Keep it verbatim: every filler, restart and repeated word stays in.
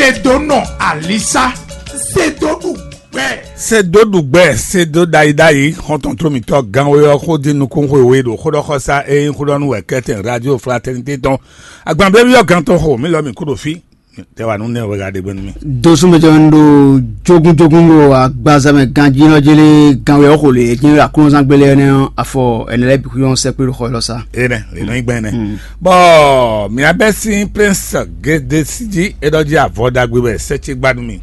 Edonɔ Alisa, Sedoɖugbɛ. Sedoɖugbɛ, Sedo ɖayi ɖayi, xɔntɔn tro mǐtɔn gánwé ɔ́ xó dín nukún xwe we ɖo xóɖɔxɔsá e nyí xóɖɔnú wɛ kɛ́tɛn Radio Fraternité tɔn. Agbanblébyɔ́ gán tɔn xo mǐ lɔ mǐ kú ɖo fí. Tɛ wa nú nɛ wɛ gǎ ɖe gbé nú mì. Dosúmɛtɔ́ ɖo jógúnjógún ɖo agbaza mɛ ganjínɔ jélé ganwé ɔ́ xo lě é jínɔ aklúnɔzán gbélé ɛnɛ́ ɔ́, afɔ ɛnɛ lɛ́ɛ bǐ xwíyɔ́n sɛkpé ɖo xɔ élɔ́ sá. Énɛ́, lě nɔ nyí gbɛn énɛ́. Bɔ mǐ abɛ́ sín Prince Gedesi jí é ɖɔ jí avɔ ɖagbe wɛ sɛ́ ce gbá nú mì.